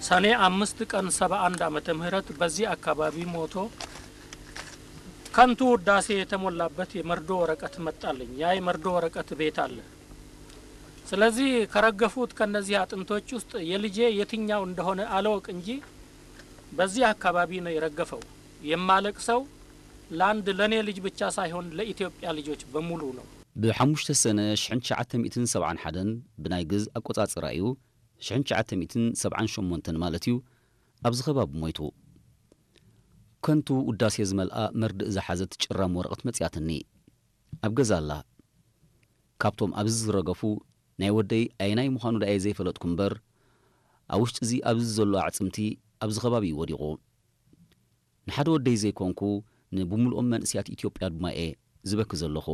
ሰኔ አምስት ቀን ሰባ አንድ ዓመተ ምህረት በዚህ አካባቢ ሞቶ ከንቱ ውዳሴ የተሞላበት የመርዶ ወረቀት መጣልኝ። ያ የመርዶ ወረቀት ቤት አለ። ስለዚህ ከረገፉት ከነዚህ አጥንቶች ውስጥ የልጄ የትኛው እንደሆነ አለወቅ እንጂ በዚህ አካባቢ ነው የረገፈው። የማለቅሰው ለአንድ ለኔ ልጅ ብቻ ሳይሆን ለኢትዮጵያ ልጆች በሙሉ ነው። ብ5 ሰነ ሽሕን ትሽዓተ ሚእትን ሰብዓን ሓደን ብናይ ግዝ ኣቆጻጽራ እዩ፣ ሽሕን ትሽዓተ ሚእትን ሰብዓን ሸሞንተን ማለት እዩ፣ ኣብዚ ከባቢ ሞይቱ። ከንቱ ውዳሴ ዝመልኣ መርድእ ዝሓዘት ጭራም ወረቐት መጽያትኒ። ኣብ ገዛ ኣላ። ካብቶም ኣብዚ ዝረገፉ ናይ ወደይ ኣየናይ ምዃኑ ደኣየ ዘይፈለጥኩ እምበር፣ ኣብ ውሽጢ እዚ ኣብዚ ዘሎ ኣዕጽምቲ ኣብዚ ከባቢ እዩ ወዲቑ። ንሓደ ወደይ ዘይኮንኩ፣ ንብምልኦም መንእስያት ኢትዮጵያ ድማ እየ ዝበኪ ዘለኹ።